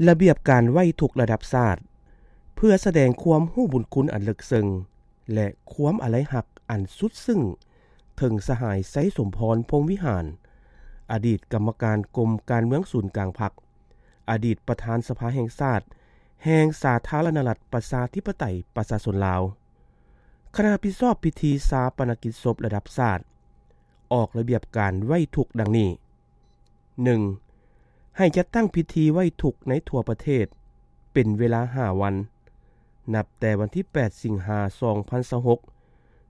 ລະບຽບການໄຫວ້ທຸກລະດັບຊາດ ເພື່ອສະແດງຄວາມຮູ້ບຸນຄຸນອັນເລິກເຊິ່ງ ແລະ ຄວາມອາໄລຮັກອັນສຸດຊຶ້ງ ເຖິງສະຫາຍ ໄຊສົມພອນ ພົມວິຫານ ອະດີດກຳມະການກົມການເມືອງສູນກາງພັກ, ອະດີດປະທານສະພາແຫ່ງຊາດ ແຫ່ງສາທາລະນະລັດ ປະຊາທິປະໄຕ ປະຊາຊົນລາວ, ຄະນະຮັບຜິດຊອບພິທີຊາປະນະກິດສົບລະດັບຊາດ ອອກລະບຽບການໄຫວ້ທຸກດັ່ງນີ້: ໜຶ່ງ ໃຫ້ຈັດຕັ້ງພິທີໄຫວ້ທຸກໃນທົ່ວປະເທດ ເປັນເວລາຫ້າວັນ, ນັບແຕ່ວັນທີແປດ ສິງຫາ ສອງພັນຊາວຫົກ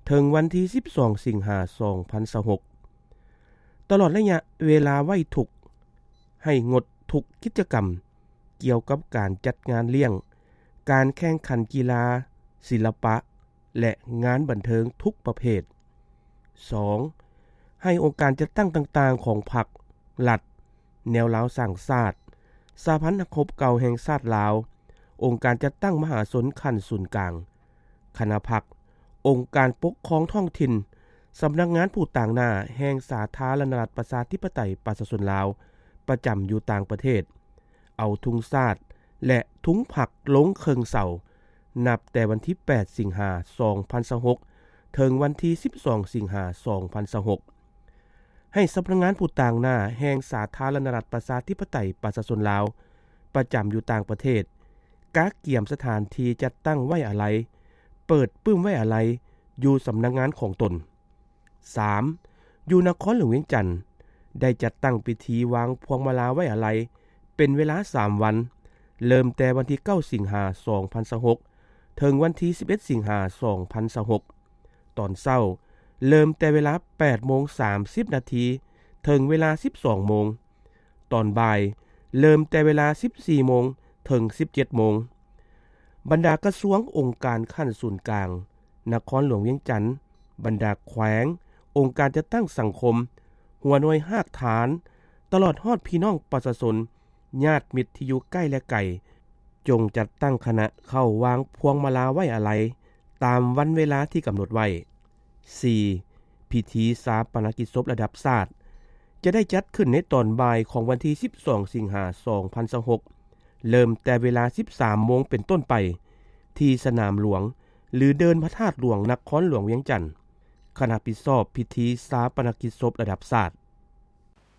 ເຖິງວັນທີສິບສອງ ສິງຫາ ສອງພັນຊາວຫົກ ຕະຫຼອດໄລຍະເວລາໄຫວ້ທຸກ ໃຫ້ງົດທຸກກິດຈະກຳກ່ຽວກັບການຈັດງານລ້ຽງ, ການແຂ່ງຂັນກິລາ, ສິລະປະ ແລະ ງານບັນເທີງທຸກປະເພດ. ສອງ ໃຫ້ອົງການຈັດຕັ້ງຕ່າງໆຂອງພັກ, ລັດ, ແນວລາວສ້າງຊາດ, ສະຫະພັນນັກຮົບເກົ່າແຫ່ງຊາດລາວ, ອົງການຈັດຕັ້ງມະຫາຊົນຂັ້ນສູນກາງ, ຄະນະພັກ, ອົງການປົກຄອງທ້ອງຖິ່ນ, ສຳນັກງານຜູ້ຕາງໜ້າແຫ່ງສາທາລະນະລັດ ປະຊາທິປະໄຕ ປະຊາຊົນລາວ ປະຈຳຢູ່ຕ່າງປະເທດ ເອົາທຸງຊາດ ແລະ ທຸງພັກລົງເຄິ່ງເສົາ ນັບແຕ່ວັນທີແປດ ສິງຫາ ສອງພັນຊາວຫົກ ເຖິງວັນທີສິບສອງ ສິງຫາ ສອງພັນຊາວຫົກ ໃຫ້ສຳນັກງານຜູ້ຕາງໜ້າແຫ່ງສາທາລະນະລັດ ປະຊາທິປະໄຕ ປະຊາຊົນລາວ ປະຈຳຢູ່ຕ່າງປະເທດ ກະກຽມສະຖານທີ່ຈັດຕັ້ງໄວ້ອາໄລ, ເປີດປຶ້ມໄວ້ອາໄລ ຢູ່ສຳນັກງານຂອງຕົນ. ສາມ ຢູ່ນະຄອນຫຼວງວຽງຈັນ ໄດ້ຈັດຕັ້ງພິທີວາງພວງມາລາໄວ້ອາໄລ ເປັນເວລາສາມວັນ, ເລີ່ມແຕ່ວັນທີເກົ້າ ສິງຫາ ສອງພັນຊາວຫົກ ເຖິງວັນທີສິບເອັດ ສິງຫາ ສອງພັນຊາວຫົກ ຕອນເຊົ້າ ເລີ່ມແຕ່ເວລາແປດໂມງສາມສິບນາທີ ເຖິງເວລາສິບສອງໂມງ, ຕອນບ່າຍ ເລີ່ມແຕ່ເວລາສິບສີ່ໂມງ ເຖິງສິບເຈັດໂມງ. ບັນດາກະຊວງ, ອົງການຂັ້ນສູນກາງ, ນະຄອນຫຼວງວຽງຈັນ, ບັນດາແຂວງ, ອົງການຈັດຕັ້ງສັງຄົມ, ຫົວໜ່ວຍຮາກຖານ, ຕະຫຼອດຮອດພີ່ນ້ອງປະຊາຊົນ, ຍາດມິດທີ່ຢູ່ໃກ້ ແລະ ໄກ, ຈົ່ງຈັດຕັ້ງຄະນະເຂົ້າວາງພວງມາລາໄວ້ອາໄລ ຕາມວັນເວລາທີ່ກຳນົດໄວ້. ສີ່ ພິທີຊາປະນະກິດສົບລະດັບຊາດ ຈະໄດ້ຈັດຂຶ້ນໃນຕອນບ່າຍຂອງວັນທີສິບສອງ ສິງຫາ ສອງພັນຊາວຫົກ ເລີ່ມແຕ່ເວລາສິບສາມໂມງເປັນຕົ້ນໄປ ທີ່ສະໜາມຫຼວງ ຫຼື ເດີ່ນພະທາດຫຼວງ ນະຄອນຫຼວງວຽງຈັນ. ຄະນະຮັບຜິດຊອບພິທີຊາປະນະກິດສົບລະດັບຊາດ.